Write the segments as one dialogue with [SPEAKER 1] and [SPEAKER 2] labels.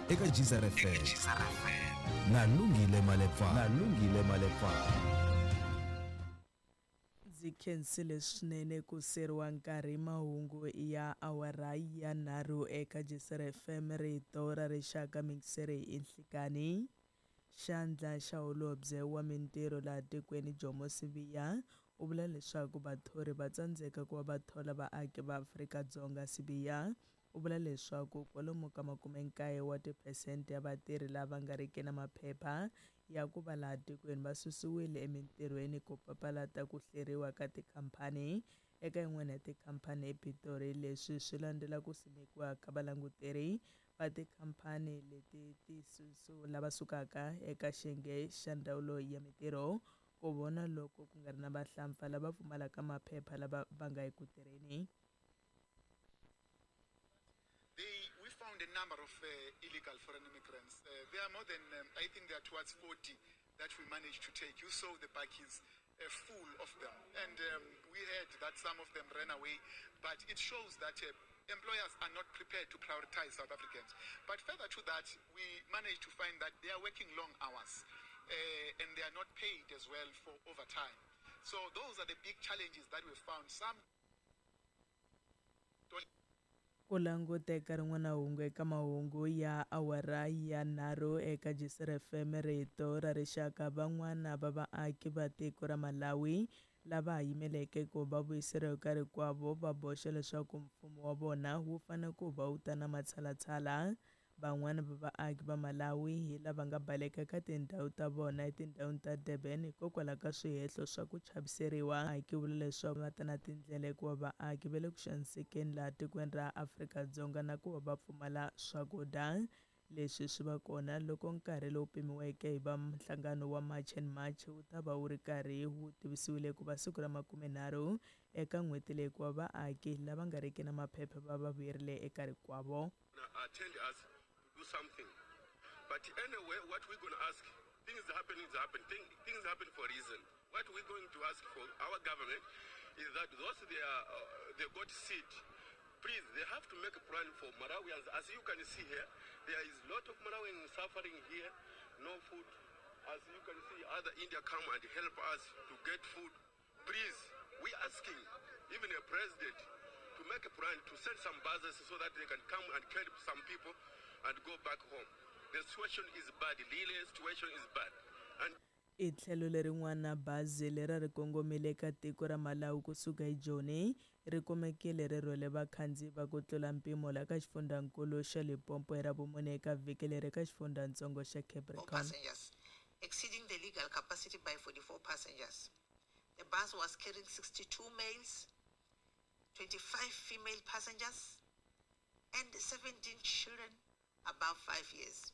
[SPEAKER 1] Eka Geyser FM na Lungile Malepa. Na Lungile Malepa.
[SPEAKER 2] Ndzi khensile swinene ku seriwa nkarhi mahungu ya awara ya nharhu eka Geyser FM rito ra rixaka mixere i nhlikani. Xandla xa holobye wa mintirho laha tikweni Jomo Sibiya u vula leswaku vathori va tsandzeka ku va va thola vaaki va Afrika-Dzonga. Sibiya u vula leswaku kwalomu ka 90 wa tiphesente ya vatirhi lava nga riki na maphepha ya ku va laha tikweni va susiwile emintirhweni ku papalata ku hleriwa ka tikhampani eka yin'wana ya tikhampani ePitori. Leswi swi landzela ku simekiwa ka valanguteri va tikhampani leti ti lava sukaka eka xiyenge xa ndzawulo ya mintirho ku vona loko ku nga ri na vahlampfa lava pfumalaka maphepha lava va nga eku tirheni.
[SPEAKER 3] We found a number of illegal foreign immigrants. There are more than, I think there are towards 40 that we managed to take. You saw the bakkies full of them. And we heard that some of them ran away. But it shows that employers are not prepared to prioritize South Africans. But further to that, we managed to find that they are working long hours and they are not paid as well for overtime. So those are the big challenges that we found. Some don't.
[SPEAKER 2] Ku languteka rin'wana hungu eka mahungu ya awara ya nharhu eka Geyser FM rito ra rixaka. Van'wana va vaaki va tiko ra Malawi lava ha yimeleke ku va vuyiseriwa ka rikwavo va boxa leswaku mfumo wa vona wu fanele ku va wu ta na matshalatshala. Van'wana va vaaki va Malawi hi lava nga baleka ka tindhawu ta vona etindhawini ta Durban hikokwalaho ka swihehlo swa ku chaviseriwa. Vaaki vula leswaku va ta na tindlela hikuva vaaki va le ku xanisekeni laha tikweni ra Afrika-Dzonga na ku va va pfumala swakudya. Leswi swi va kona loko nkarhi lowu pimiweke hi va nhlangano wa March and March wu ta va wu ri karhi wu tivisiwile ku va siku ra 30 eka n'hweti leyi ku va vaaki lava nga riki na maphepha va va vuyerile eka rikwavo.
[SPEAKER 4] Attend us to do something. But anyway, what we're going to ask, things happen, things happen, things happen for a reason. What we're going to ask for our government is that those they got seat, please, they have to make a plan for Malawians. As you can see here, there is a lot of Malawians suffering here, no food. As you can see, other India come and help us to get food. Please, we're asking even a president to make a plan to send some buses so that they can come and help some people and go back home. The situation is bad, really, the situation is bad. And
[SPEAKER 2] I tlhelo lerin'wana bazi leri ri kongomile eka tiko ra Malawi kusuka eJoni ri kumekile ri rhwele vakhandziyi va ku tlula mpimo laha ka xifundzankulu xa Limpopo hi Ravumune eka vhiki leri ka xifundzatsongo xa Capricorn.
[SPEAKER 5] Passengers, exceeding the legal capacity by 44 passengers. The bus was carrying 62 males, 25 female passengers, and 17 children above 5 years.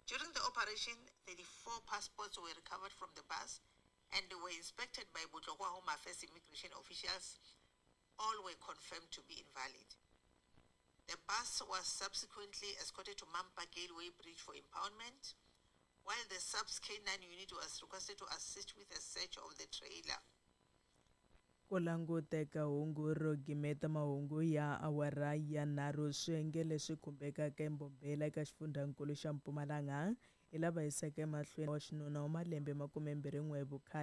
[SPEAKER 5] During the operation, 34 passports were recovered from the bus and were inspected by Botlokwa Home Affairs immigration officials. All were confirmed to be invalid. The bus was subsequently escorted to Mampa Gateway Bridge for impoundment, while the SAPS K9 unit was requested to assist with a search of the trailer.
[SPEAKER 2] Ku languteka hungu ro gimeta mahungu ya awara ya nharhu swiyenge leswi khumbekaka eMbombela eka xifundzankulu xa Mpumalanga hi lava yisaka emahlweni wa xinuna wa malembe 21 hi vukhale.